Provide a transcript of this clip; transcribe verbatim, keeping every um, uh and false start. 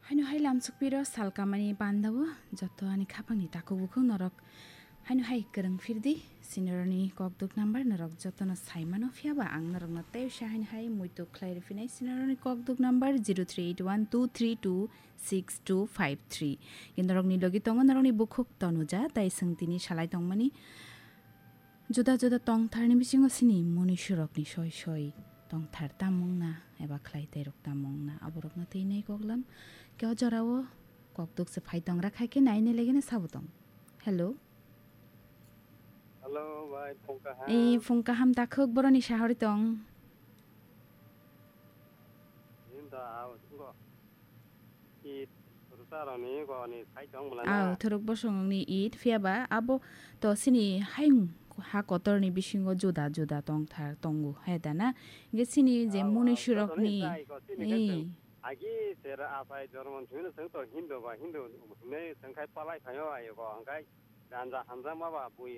Haino hai lamsukpiro salkamani pandao joto ani khapangni takhuk bukhuk norok haino hai kwrwng phirdi, sinoroni kokduk number norok jotono saimano, phiyaba ang norokno tei usa haino hai muitu khlai rwphinai sinoroni kokduk number zero three eight one two three two six two five three. Norokni logi tongo norokni bukhuk Tonuja, tai swng tini salai tongmani. Juda juda tongtharni bisingo sini munuisurokni soi soi tongthar tamungna eba khlai tairok tamungna aborokno twi nai koklam. Keo jorao kokduk se phai tongra khai khe naine legene sabo tong. Hello. Hello, bai, phung kaham. Ei, phung kaham takhuk boroni sahori tong. Nin da, ao, sungo. Eid, rusa roni, go ni, sai tong bwlana. Ao, thuruk bosongni Eid, phiyaba abo to sini haing ha kotorni bisingo juda juda tongthar tongo, he da na? Hingke sini je ao, munuisurokni, joto ni sai ko, sini khe ei. Chwng agi sera asai jormo thwino chwng to Hindu ba, Hindu hinwi chwng khai palai phaio ayo go, hingkai ganja hamjakma ba bui